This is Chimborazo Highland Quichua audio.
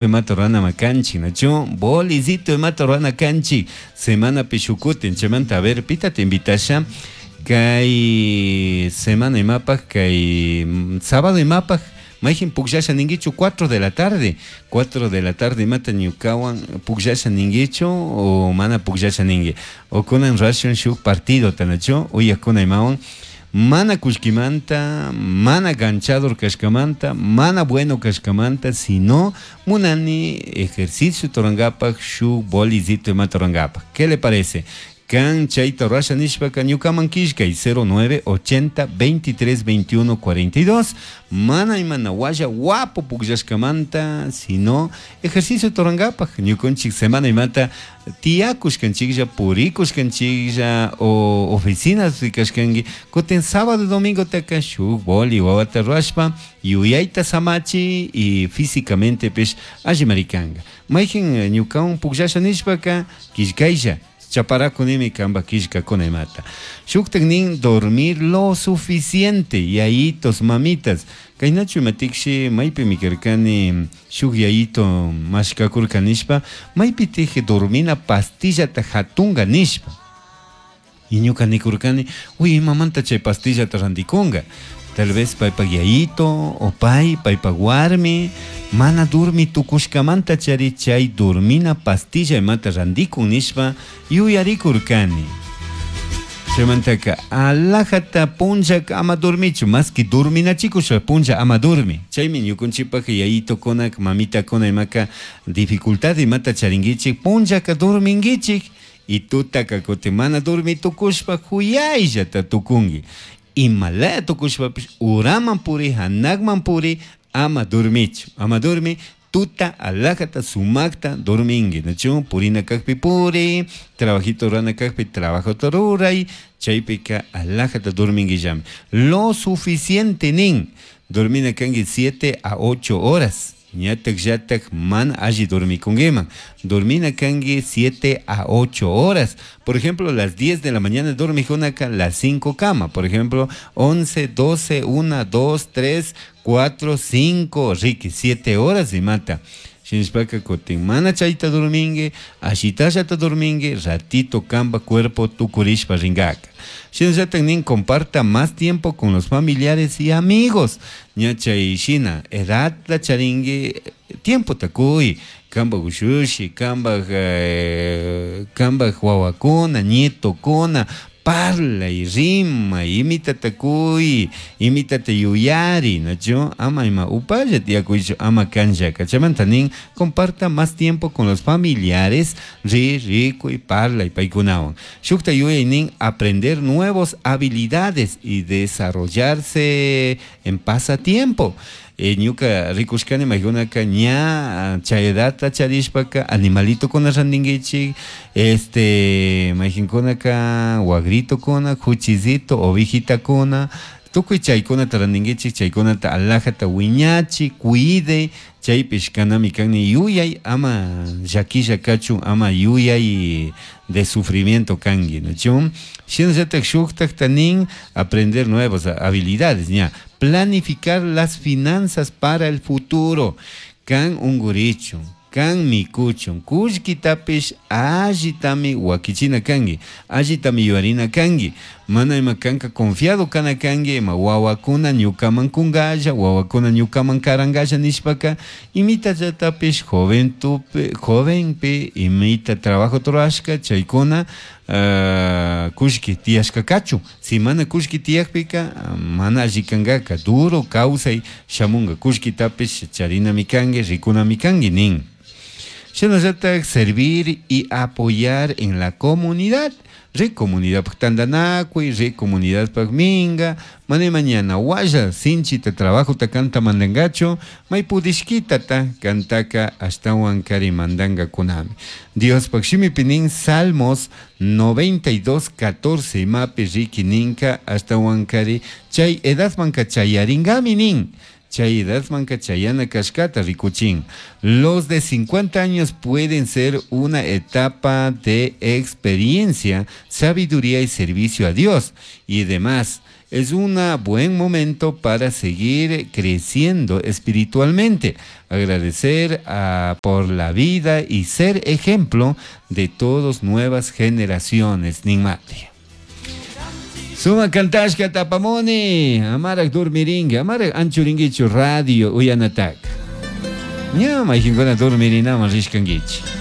Imata rurana kanchik, nachu? Bolicito imata rurana kanchik semanapi shukutin. Chaymanta, a ver, pita te invitasha kay semana imapaj, kay sábado imapaj, mayjin pukllasha ninguichu 4 de la tarde, 4 de la tarde imata ñukawan pukllasha ninguichu o mana pukllasha ningui? O kunan rurashun shuk partido tanachu uyakuna imawan, mana kullkimanta, mana ganchador kashkamanta, mana bueno kashkamanta, sino munani ejercicio rurangapak, shuk bolicito imata rurangapak. ¿Qué le parece? Kan chayta rurasha nishpaka ñukaman killkay 09 80 23 21 42. Mana imana walla guapo pukllashkamanta, sino ejercicio rurangapak. Ñukanchik semana imata tiyakushkanchiklla, purikushkanchiklla o oficinas rikashkanki, kutin sábado domingo taka shuk boli wawata rurashpa yuyayta samachi y físicamente pish allimari kanka. Mayjin ñukawan pukllasha nishpaka killkaylla, chaparakunimi kamba killkakuna imata. Shuktak nin dormir lo suficiente, yayitos, mamitas. Kaynachu imatikshi maypimi karkani shuk yayito mashkakurka nishpa, maypitik dormina pastillata hatunga nishpa. Y ñuka nikurkani, uy, imamanta chay pastillata rantikunga. Tal vez paypak yayito o pay, paypak warmi, mana durmi tukushkamanta chari chay dormina pastilla imata rantikun nishpa yuyarikurkani. Chaymantaka alajata punllaka ama dormichu, más que dorminachikusha punlla ama dormi. Chaymi ñukunchikpak yayitokuna, mamitakuna imaka dificultad imata charinkichik, punllaka dorminkichik y tutaka kutin mana dormi tukushpa huyayllata tukunki. Imalaya tukushpapish uraman puri, hanakman puri, ama dormichu, ama dormi, tuta alajata sumakta dorminki, nachu? Purina kakpi puri, trabajito rurana kakpi trabajota ruray, chaypika alajata dorminquillami. Lo suficiente nin, dormina kanki 7 a 8 horas. Ñatak llatak mana alli dormikunkiman. Dormina kanki 7 a 8 horas. Por ejemplo, las 10 de la mañana dormijunaka las 5 cama. Por ejemplo, 11, 12, 1, 2, 3, 4, 5, riki, 7 horas y mata. Shinashpaka kutin mana chayta dorminki, ashitallata dorminki, ratito kamba cuerpo tukurishpa ringaka. Shinallatak nin comparta más tiempo con los familiares y amigos. Ña chay shina, edadta charinki, tiempo takuy, kamba ushushi, kamba wawakuna, nietokuna, parlay, rimay, imitata kuy, imitata yuyari, nachu? Ama ima upalla tiyakuychu, ama kanllaka. Chaymanta nin, comparta más tiempo con los familiares, ri, rikuy, parlay, paykunawan. Shukta yuyay nin, aprender nuevas habilidades y desarrollarse en pasatiempo. Ñuka rikushkani maykunaka ña chay edadta charishpaka animalitokuna rantinkichik, mayjinkunaka wagritokuna, kuchisito, ovejitakuna, tukuy chaykunata rantinkichik, chaykunata alajata wiñachi, cuide, chaypish kanami kani yuyay ama llakilla kachun, ama yuyay de sufrimiento kanki, nachu? Shinallatak shuktakta nin aprender nuevas habilidades, ña, planificar las finanzas para el futuro. Kan ungurichun, kan mikuchun, kullkitapish allitami wakichina kanki, allitami yuyarina kanki, mana ima kanka confiado kana kanki, ima wawakuna ñukaman kunkalla, wawakuna ñukaman karankalla nishpaka, imitallatapish joventupi, jovenpi imita trabajo rurashka, chaykuna, kullki tiyashka kachun. Si mana kullki tiyakpika, mana alli kankaka, duro kawsay shamunka, kullkitapish charinami kanki, rikunami kanki nin. Shinallatak servir y apoyar en la comunidad. Ri comunidad pak tantanakuy, ri comunidad pak minga, mana mañana walla sinchita trabajo ta kanta mandangachu, may pudishkita ta kantaka ashtawan kari mandanga kunami. Dios pak shimipi nin Salmos 92, 14 imapi riki ninka ashtawan kari chay edadmanka chayaringami nin. Chay edadmanka chayana kashkata rikuchin. Los de 50 años pueden ser una etapa de experiencia, sabiduría y servicio a Dios y demás. Es un buen momento para seguir creciendo espiritualmente, agradecer por la vida y ser ejemplo de todas nuevas generaciones. Ninmati. Suma cantashka tapamuni, amarak dormiringa, amarak anchuringichu radio uyanatak. Ña mayjinkuna dormirinaman rishkankichik.